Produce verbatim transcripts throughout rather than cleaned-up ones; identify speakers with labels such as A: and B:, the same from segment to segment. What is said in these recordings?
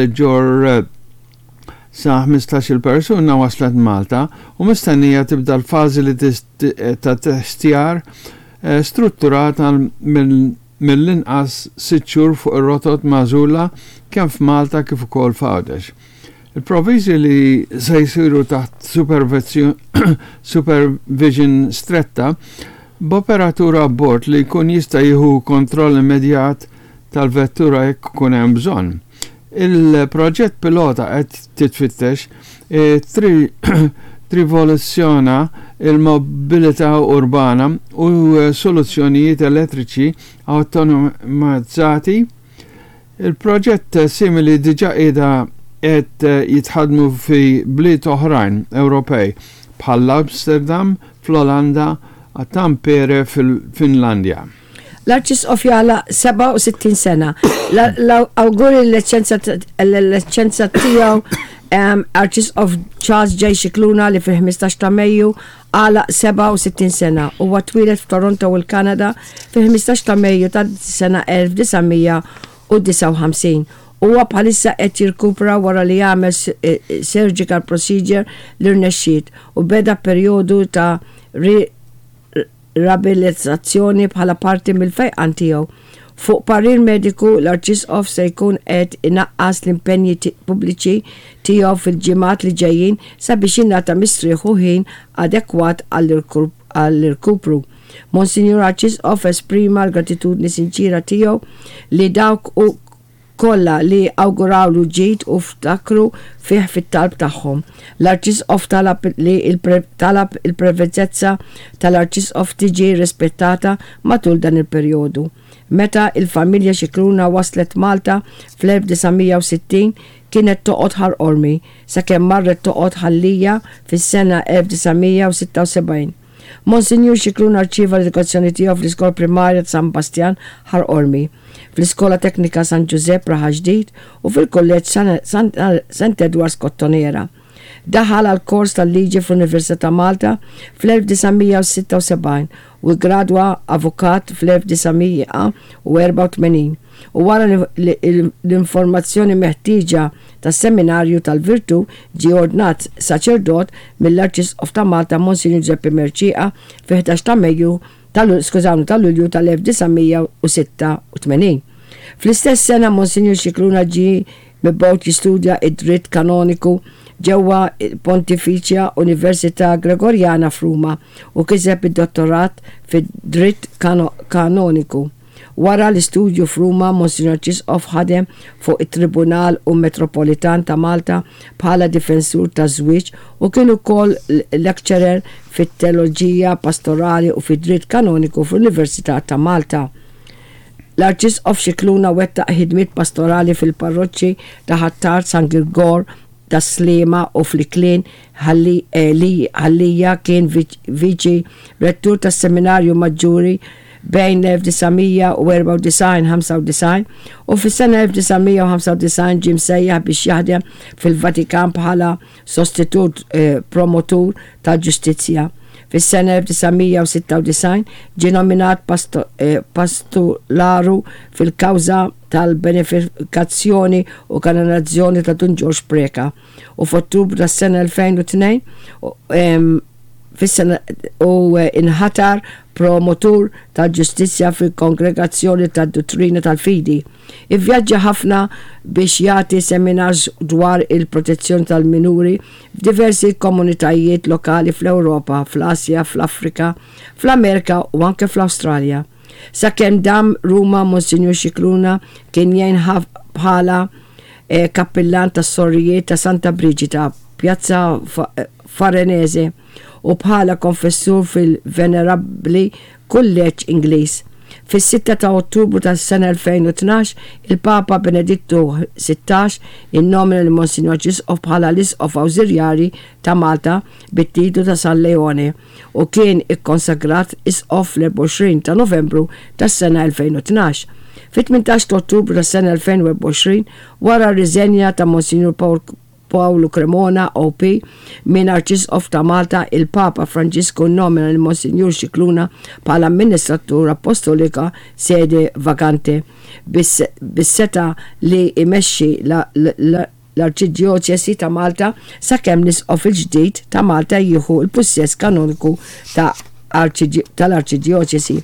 A: Ġorr sa ħmistax-il persuna waslet Malta u mistennija tibda l-fażi li ta' testjar eh, strutturata mill-inqas sitt xhur fuq ir-rotot magħżula kemm f'Malta kif ukoll f'Għawdex. Il-provvisti li se jsiru taħt supervision stretta b'operatur abbord li jkun jista' jieħu kontroll immedjat tal-vettura jekk ikun hemm bżonn. Il-proġett pilota qed titfittex e, tirrivoluzzjona il-mobilità urbana u soluzzjonijiet elettriċi awtomatizzati. Il-proġett simili diġà qiegħda qed jitħadmu fi bliet oħrajn Ewropej bħal Amsterdam fl-Olanda, Tampere fil-Finlandja.
B: L-Arċisqof jagħlaq sebgħa u sittin sena. L-awguri l-Eċċellenza tiegħu Arċisqof Charles J. Scicluna li fil-ħmistax ta' Mejju għalaq sebgħa u sittin sena. Huwa twieled f'Toronto u l-Kanada fil-ħmistax ta' Mejju ta' sena elf disa' mija u disgħa u ħamsin. Huwa bħalissa qed jirkupra wara li jagħmel eh, surgical procedure li rnexxiet u beda perjodu ta' riabilitazzjoni bħala parti mill-fejqan tiegħu. Fuq parir mediku, l-Arċisqof se jkun qed inaqqas l-impenji pubbliċi tiegħu fil-ġimgħat li ġejjin sabiex jingħata mistrieħ u ħin adekwat għall-irkupru. Monsignor Arċisqof esprima l-gratitudni sinċira tiegħu li dawk u kollha li awgurawlu ġid u ftakru fih fit-talb tagħhom. L-Arċisqof talab li talab il-privatezza tal-Arċisqof tiġi rispettata matul dan il-perjodu. Meta il-familja Scicluna waslet Malta fl-elf disa' mija u sittin kienet toqgħod Ħal Qormi sakemm marret toqgħod Ħal Lija fis-sena elf disa' mija u sitta u sebgħin. Monsignor Scicluna rċieva l-edukazzjoni tiegħu fl-Iskola Primarja ta' San Bastian Ħal Qormi, fl-Iskola Teknika San Giuseppe Raħal Ġdid u fil-Kulleġġ Saint Edwards Kottonera. Daħal għal kors tal-liġi fl-Università ta' Malta fl-elf disa' mija u sitta u sebgħin u gradwa avukat fl-elf disa' mija u erbgħa u tmenin u wara l-informazzjoni meħtieġa tas-Seminarju tal-Virtu ġie ordnat saċerdot mill-Arċisqof ta' Malta Monsignor Giuseppe Mercieca fi ħdax ta' Mejju skużawni ta' Lulju tal-elf disa' mija u sitta u tmenin. Fl-istess sena Monsignor Scicluna ġie mibgħut jistudja id-dritt kanoniku ġewwa Pontificia Università Gregoriana f'Ruma u kiseb id-dottorat fid-dritt kanoniku. Wara l-istudju f'Ruma, Monsignor Arċisqof ħadem fuq it-Tribunal u Metropolitan ta' Malta bħala difensur ta' żwieġ u kien ukoll lecturer fit-teoloġija pastorali u fid-dritt kanoniku fl-Università ta' Malta. L-Arċisqof Scicluna wettaq ħidmiet pastorali fil-parroċċi ta' Ħ'Attard, San Girgor, ta' Sliema u fl-Iklin Ħal Lija. Kien viċi rettur tas-Seminarju Maġġuri bejn elf disa' mija u erbgħa u disgħin u u fis-sena elf disa' mija u ħamsa u disgħin ġie msejjaħ biex jaħdem fil-Vatikan bħala sostitut eh, promotur tal-ġustizzja. Fis-sena elf disa' mija u sitta u disgħin ġie nominat eh, pastularu fil-kawża tal-beatifikazzjoni u kanonizzazzjoni ta' Dun Ġorġ Preca u f'Ottubru tas-sena elfejn u tnejn fis-sena u eh, inħatar promotur tal-ġustizzja fil-Kongregazzjoni tad-Dottrina tal-Fidi. Ivvjaġġa ħafna biex jagħti seminars dwar il-protezzjoni tal-minuri f'diversi komunitajiet lokali fl-Ewropa, fl-Asja, fl-Afrika, fl-Amerika u anke fl-Awstralja. Sakemm dam Ruma, Monsignor Scicluna kien jgħin bħala eh, kappillan tas-sorijiet ta' Santa Brigida, Pjazza Farnese, u bħala konfessur fil-Venerabbli Kulleġġ Ingliż. Fis-sitta ta' Ottubru tas-sena elfejn u tnax il-Papa Benedittu sittax innomina lil Monsignor Arċisqof bħala l-Isqof Awżiljarji ta' Malta bit-titlu ta' San Leone u kien ikkonsagrat Isqof fl-erbgħa u għoxrin ta' Novembru tas-sena elfejn u tnax. Fit-tmintax ta' Ottubru tas-sena elfejn u erbgħa u għoxrin, wara r-riżenja ta' Monsignor Paul Pawlu Cremona O P minn Arċisqof ta' Malta, il-Papa Franġisku nomina lil Monsinjur Scicluna bħala Amministratur Apostolika sede vacante bis-setgħa li jmexxi l-Arċidjoċesi ta' Malta sakemm l-Isqof il-ġdid ta' Malta jieħu l-pussess kanoniku ta' tal-Arċidjoċesi.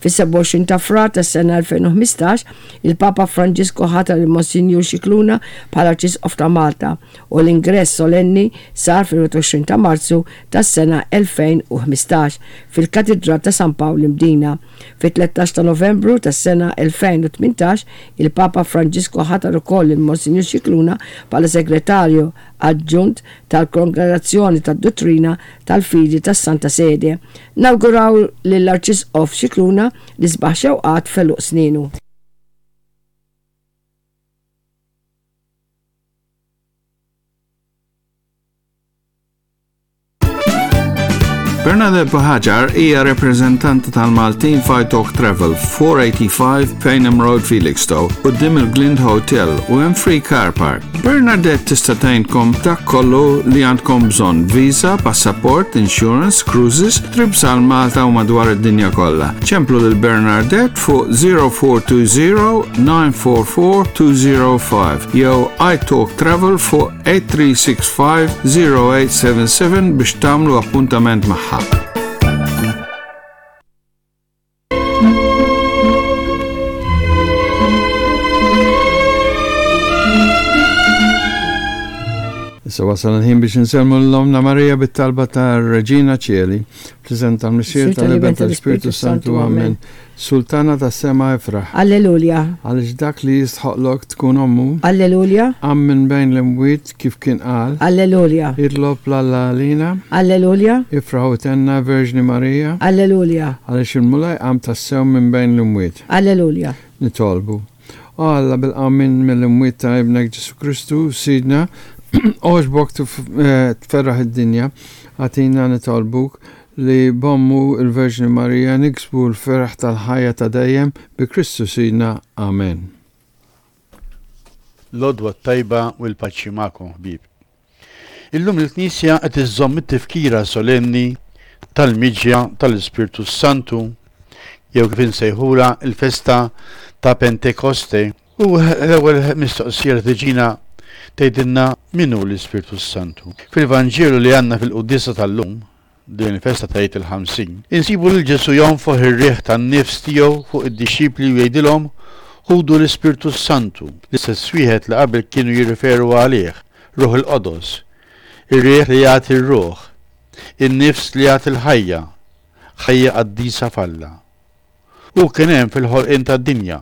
B: Fis-sebgħa u għoxrin ta' Frar tas-sena elfejn u ħmistax, il-Papa Franġisku ħatar il-Monsinjur Scicluna bħala Arċisqof ta' Malta u l-ingress solenni sar fil-wieħed u għoxrin ta' Marzu tas-sena elfejn u ħmistax fil-Katedral ta' San Pawl Imdina. Fit-tlettax ta' Novembru tas-sena elfejn u tmintax, il-Papa Franġisku ħatar ukoll il-Monsinjur Scicluna bħala Segretarju Aġġunt tal-Kongregazzjoni tad-Dottrina tal-Fidi tas-Santa Sede. Nawguraw lill-Arċisqof Scicluna l-isbaħ xewqat f'għeluq sninu.
A: Bernadette Buhagiar hija rappreżentanta tal-Maltin f'I Talk Travel, four eighty-five Payneham Road, Felixstowe, quddiem il-Glind Hotel u hemm free car park. Bernadette tista' tgħinkom dak kollu li għandkom bżonn: visa, passaport, insurance, cruises, trips għal Malta u madwar id-dinja kollha. Ċemplu lil Bernadette fuq zero four two zero nine four four two zero five jew iTalk Travel fuq eight three six five zero eight seven seven biex tagħmlu appuntament magħha. Issa wasal il-ħin biex insellmu 'l Ommna Marija bit-talba ta' Regina Coeli, fl-isem tal-Missier, tal-Iben, tal-Spiritu Santu. Amen. Sultana tas-sema, ifraħ.
B: Alleluja.
A: Għaliex dak li jistħoqlok tkun ommu,
B: Alleluja.
A: qam minn bejn l-imwiet kif kien qal.
B: Alleluja.
A: Itlob 'l Alla għalina.
B: Alleluja.
A: Ifraħ u thenna, Verġni Marija.
B: Alleluja.
A: Għaliex il-Mulej qam tassew minn bejn l-imwiet.
B: Alleluja.
A: Nitolbu. O Alla, bil-qawmien mill-imwiet ta' ibnek Ġesu Kristu, Sidna, għoġbok tferraħ id-dinja, agħtina, nitolbuk, li b'ommu il-Verġni Marija niksbu l-ferħ tal-ħajja ta' dejjem bi Kristu Sidna. Amen.
C: L-għodwa tajba u l-paċi magħkom, ħbieb. Illum il-Knisja qed iżżomm it-tifkira solenni tal-miġja tal-Ispirtu Santu jew kif insejħula il-festa ta' Pentekoste. U l-ewwel mistoqsija li tiġina tgħidilna min hu l-Ispirtu Santu. Fil-Vanġelu li għandna fil-quddiesa tal-lum, din il-festa ta' Għid il-Ħamsin, insibu lil Ġesu jonfoħ ir-riħ tan-nifs tiegħu fuq id-dixxipli u jgħidilhom: "Ħudu l-Ispirtu Santu", l-istess wieħed li qabel kienu jirriferu għalih, Ruħ il-Qodos, ir-riħ li jagħti r-ruħ, in-nifs li jagħti l-ħajja, ħajja qaddisa f'Alla. U kien hemm fil-ħolqien tad-dinja.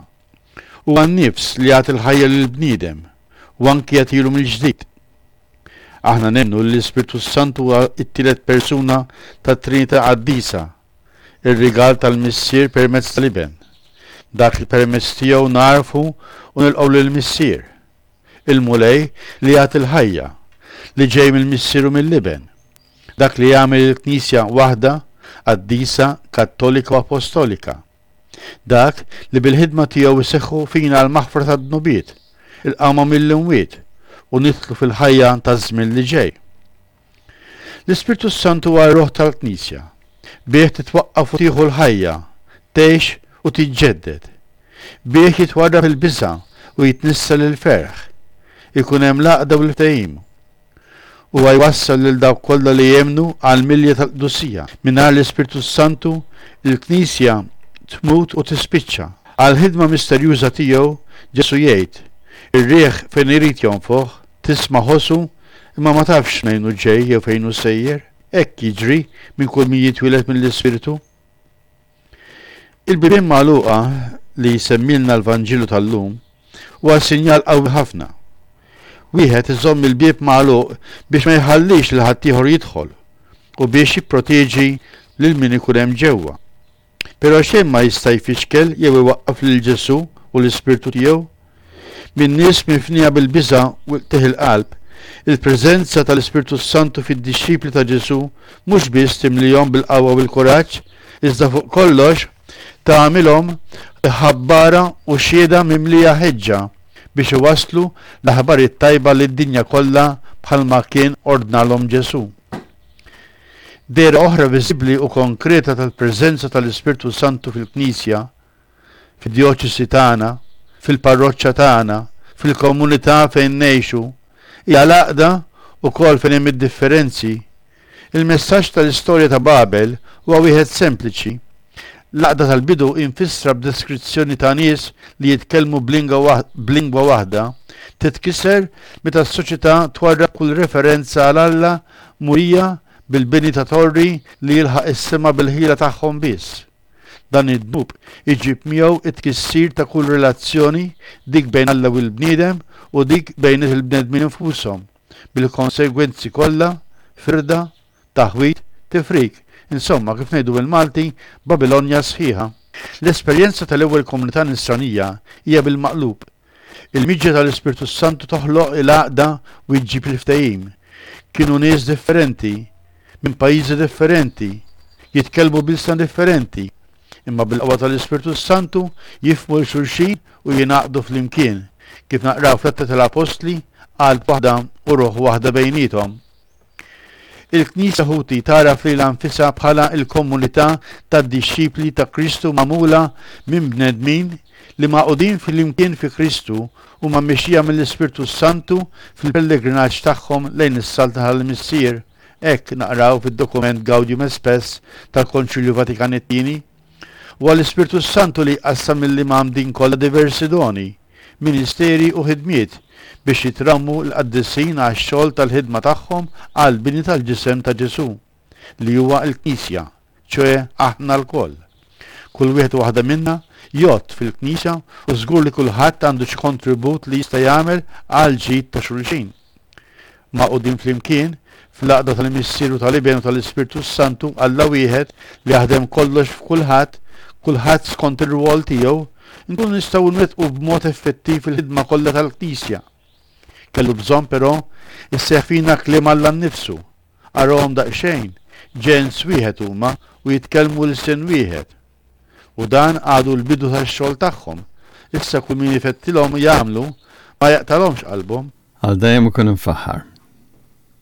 C: Huwa n-nifs li jagħti l-ħajja lill-bniedem u anki jagħtilu mill-ġdid. Aħna nemmnu li l-Ispirtu Santu huwa t-tielet persuna tat-Trinità Qaddisa, ir-rigal tal-Missier permezz tal-Iben. Dak li permezz tiegħu nagħrfu u nilqgħu lill-Missier. Il-Mulej li jagħti l-ħajja, li ġej mill-Missier u mill-Iben. Dak li jagħmel il-Knisja waħda, qaddisa, kattolika u apostolika. Dak li bil-ħidma tiegħu jseħħu fina l-maħfra tad-dnubiet, il-qawma mill-imwiet u nidħlu fil-ħajja taż-żmien li ġej. L-Ispirtu Santu huwa r-ruħ tal-Knisja. Bih titwaqqaf u tieħu l-ħajja, tgħix u tiġġedded. Bih jitwarrab il-biża' u jitnissel il-ferħ. Ikun hemm l-għaqda u l-ftehim. Huwa jwassal lil dawk kollha li jemmnu għal milja tal-qdusija. Mingħajr l-Ispirtu Santu, il-Knisja tmut u tispiċċa. Għal-ħidma misterjuża tiegħu Ġesu jgħid: "Ir-riħ fejn irid jonfoħ, tisma' ħossu, imma ma tafx minn fejn ġej jew fejn hu sejjer. Hekk jiġri minn kull min jitwieled mill-Ispirtu." Il-bibien magħluqa li jsemmilna l-Vanġelu tal-lum huwa sinjal qawwi ħafna. Wieħed iżomm il-bieb magħluq biex ma jħallix lil ħaddieħor jidħol u biex jipproteġi lil min ikun hemm ġewwa. Però xejn ma jista' jfixkel jew iwaqqaf lil Ġesu u l-Ispirtu tiegħu. Min nies mifnija bil-biża' u qtigħ il-qalb, il-preżenza tal-Ispirtu Santu fid-dixxipli ta' Ġesu mhux biss timlihom bil-qawwa u bil-kuraġġ, iżda fuq kollox tagħmilhom ħabbara u xhieda mimlija ħeġġa biex iwasslu l-aħbar it-tajba lid-dinja kollha bħalma kien ordnalhom Ġesù. Dehra oħra viżibbli u konkreta tal-preżenza tal-Ispirtu Santu fil-Knisja, fid-djoċesi tagħna, fil-parroċċa tagħna, fil-komunità fejn ngħixu, hija l-għaqda ukoll fejn hemm id-differenzi. Il-messaġġ tal-istorja ta' Babel huwa wieħed sempliċi. L-għaqda tal-bidu imfissra b'deskrizzjoni ta' nies li jitkellmu b'lingwa waħda titkisser meta s-soċjetà twarrab kull referenza għal Alla murija bil-bini ta' torri li jilħaq is-sema bil-ħila tagħhom biss. Dan id-dnub iġib miegħu it-tkissir ta' kull relazzjoni, dik bejn Alla u l-bniedem u dik bejn il-bnedmin infushom, bil-konsegwenzi kollha, firda, taħwid, tifrik. Insomma, kif ngħidu bil-Malti, Babilonja sħiħa. L-esperjenza tal-ewwel komunità nisranija hija bil-maqlub. Il-miġja tal-Ispirtu Santu toħloq il-għaqda u jġib il-ftehim. Kienu nies differenti, minn pajjiżi differenti, jitkellmu b'ilsna differenti, imma bil-qawwa tal-Ispirtu Santu jifhmu 'l xulxin u jingħaqdu flimkien, kif naqraw fl-Atti tal-Apostli, qalb waħda u ruħ waħda bejniethom. Il-Knisja, ħuti, tagħraf lilha nfisha bħala l-komunità tad-dixxipli ta' Kristu magħmula minn bnedmin li magħqudin flimkien fi Kristu huma mmexxija mill-Ispirtu Santu fil-pellegrinaġġ tagħhom lejn is-Saltna tal-Missier. Hekk naqraw fid-dokument Gaudium et Spes tal-Konċilju Vatikan it-Tieni. Huwa l-Ispirtu Santu li jqassam lill-imgħammdin kollha diversi doni, ministeri u ħidmiet biex jitrawmu l-qaddisin għax-xogħol tal-ħidma tagħhom għall-bini tal-ġisem ta' Ġesù, li huwa l-Knisja, ċoe aħna lkoll. Kull wieħed u waħda minna jgħodd fil-Knisja u żgur li kulħadd għandu xi kontribut li jista' jagħmel għall-ġid ta' xulxin. Magħqudin flimkien, fl-għaqda tal-Missier u tal-Iben u tal-Ispirtu s-Santu, Alla wieħed li jaħdem kollox f'kulħadd, kulħadd skont ir-rwol tiegħu, nkunu nistgħu nwettqu b'mod effettiv il-ħidma kollha tal-Knisja. Kellu bżonn però isseħħ fina kliem Alla nnifsu. Arahom daqsxejn, ġens wieħed huma u jitkellmu lsien wieħed. U dan għadu l-bidu tax-xogħol tagħhom. Issa kull min ifettilhom jagħmlu ma jaqtalhomx qalbhom.
A: Għal dejjem ikun imfaħħar.